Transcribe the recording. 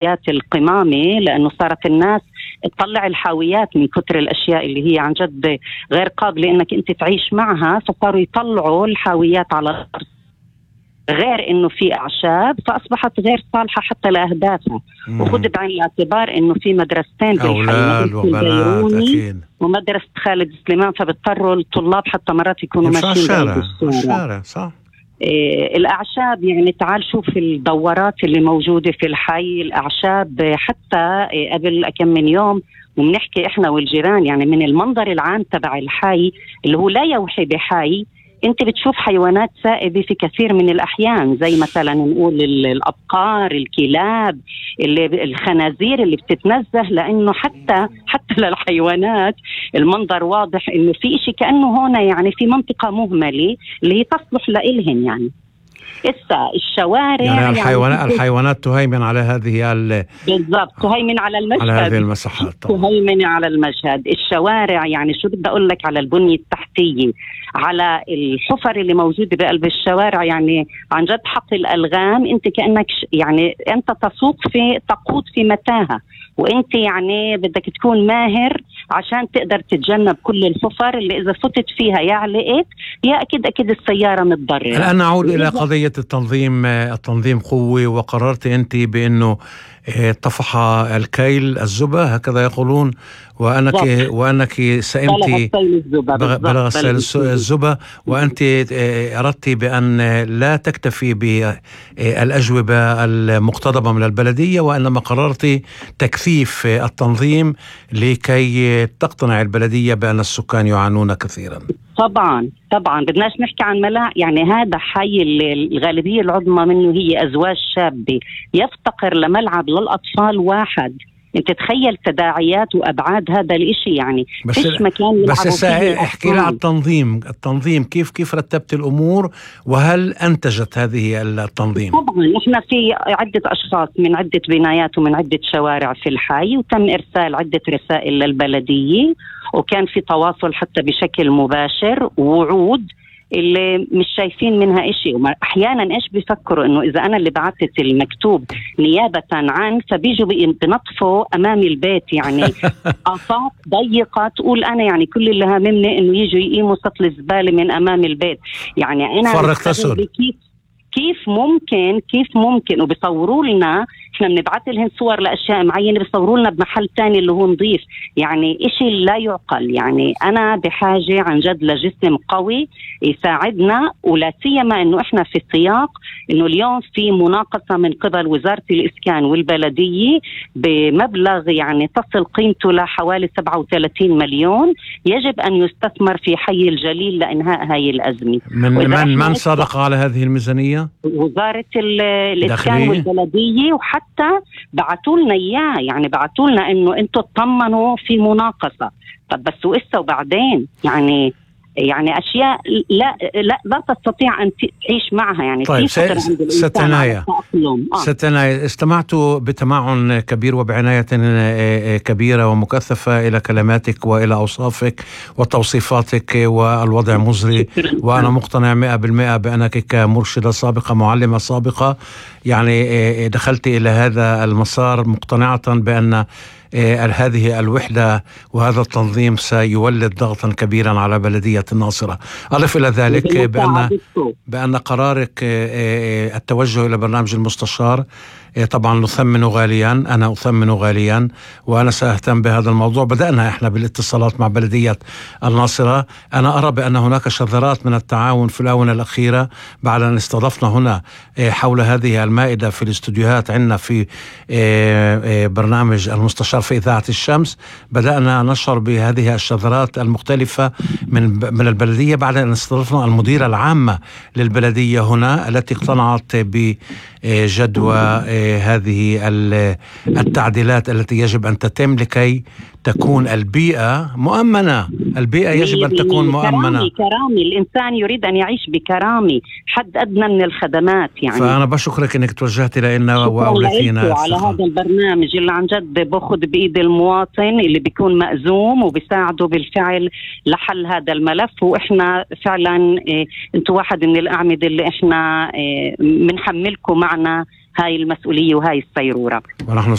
القمامة، لأنه صارت الناس تطلع الحاويات من كتر الأشياء اللي هي عن جد غير قابلة إنك أنت تعيش معها، فصاروا يطلعوا الحاويات على الأرض، غير إنه في أعشاب فأصبحت غير صالحة حتى لأهدافها. وخذ بعين الاعتبار إنه في مدرستين بالحي، مدرسة البيروني ومدرسة خالد سليمان، فبضطروا الطلاب حتى مرات يكونوا ماشيين بالشارع. صح. الأعشاب يعني تعال شوف الدورات اللي موجودة في الحي، الأعشاب حتى قبل كم من يوم وبنحكي إحنا والجيران، يعني من المنظر العام تبع الحي اللي هو لا يوحي بحي، انت بتشوف حيوانات سائبة في كثير من الأحيان، زي مثلا نقول الأبقار، الكلاب، الخنازير اللي بتتنزه، لأنه حتى للحيوانات المنظر واضح إنه في إشي كأنه هنا يعني في منطقة مهملة اللي هي تصلح لإلهن. يعني الشوارع يعني الحيوانات تهيمن على هذه بالضبط، تهيمن على المشهد، على هذه المساحات، تهيمن على المشهد. الشوارع يعني شو بدي أقول لك، على البنية التحتية، على الحفر اللي موجودة بقلب الشوارع، يعني عن جد حق الألغام. انت كأنك يعني انت تقود في متاهة، وانت يعني بدك تكون ماهر عشان تقدر تتجنب كل الحفر اللي اذا فتت فيها يا علقت يا اكيد السيارة متضررة. الآن نعود الى قضية التنظيم قوي، وقررت انت بانه طفح الكيل الزبا، هكذا يقولون، وأنك سئمت بلغ الزبا، وأنت أردت بأن لا تكتفي بالأجوبة المقتضبة من البلدية، وإنما قررت تكثيف التنظيم لكي تقتنع البلدية بأن السكان يعانون كثيرا. طبعا بدناش نحكي عن يعني هذا حي الغالبية العظمى منه هي أزواج شابة، يفتقر لملعب للأطفال واحد. انت تخيل تداعيات وأبعاد هذا الاشي، يعني فيش مكان بس احكي لي عن التنظيم كيف رتبت الأمور، وهل أنتجت هذه التنظيم؟ طبعا احنا في عدة أشخاص من عدة بنايات ومن عدة شوارع في الحي، وتم إرسال عدة رسائل للبلدية، وكان في تواصل حتى بشكل مباشر ووعود اللي مش شايفين منها إشي. أحيانا إيش بيفكروا إنه إذا أنا اللي بعثت المكتوب نيابة عن، فبيجوا بنطفوا أمام البيت، يعني آفاق ضيقة تقول أنا يعني كل اللي هاممني إنه يجوا يقيموا سطل الزبالة من أمام البيت. يعني أنا فرق تسر كيف ممكن وبيصوروا لنا، احنا بنبعث لهم صور لاشياء معينه بيصوروا لنا بمحل تاني اللي هو نظيف، يعني اشي لا يعقل. يعني انا بحاجه عن جد لجسم قوي يساعدنا، ولا سيما انه احنا في سياق انه اليوم في مناقصه من قبل وزاره الاسكان والبلديه بمبلغ يعني تصل قيمته لحوالي 37 مليون، يجب ان يستثمر في حي الجليل لانهاء هاي الازمه. من صادق على هذه الميزانيه؟ وزاره الاسكان والبلديه، وحتى بعتوا لنا اياه، يعني بعتوا لنا انه انتم تطمنوا في مناقصه. طب بس وبعدين يعني اشياء لا تستطيع ان تعيش معها. يعني طيب ستنايا استمعت بتمعن كبير وبعناية كبيرة ومكثفة إلى كلماتك وإلى أوصافك وتوصيفاتك، والوضع مزري، وأنا مقتنع 100% بأنك كمرشدة سابقة، معلمة سابقة، يعني دخلت إلى هذا المسار مقتنعة بأن هذه الوحدة وهذا التنظيم سيولد ضغطا كبيرا على بلدية الناصرة. أضف إلى ذلك بأن قرارك التوجه إلى برنامج المستشار طبعا نثمن غاليا، أنا أثمن غاليا، وأنا سأهتم بهذا الموضوع. بدأنا إحنا بالاتصالات مع بلدية الناصرة. أنا أرى بأن هناك شذرات من التعاون في الآونة الأخيرة بعد أن استضفنا هنا حول هذه المائدة في الاستوديوهات عندنا في برنامج المستشار في إذاعة الشمس. بدأنا نشعر بهذه الشذرات المختلفة من البلدية بعد أن استضفنا المديرة العامة للبلدية هنا، التي اقتنعت بجدوى هذه التعديلات التي يجب أن تتم لكي تكون البيئة مؤمنة. البيئة يجب أن تكون مؤمنة. كرامي الإنسان يريد أن يعيش بكرامي، حد أدنى من الخدمات. يعني فأنا بشكرك أنك توجهت لنا وأولتينا على هذا البرنامج اللي عن جد باخذ بإيد المواطن اللي بيكون مأزوم وبيساعده بالفعل لحل هذا الملف. وإحنا فعلا أنتوا واحد من الأعمدة اللي إحنا بنحملكم معنا هاي المسؤولية وهاي السيرورة. ونحن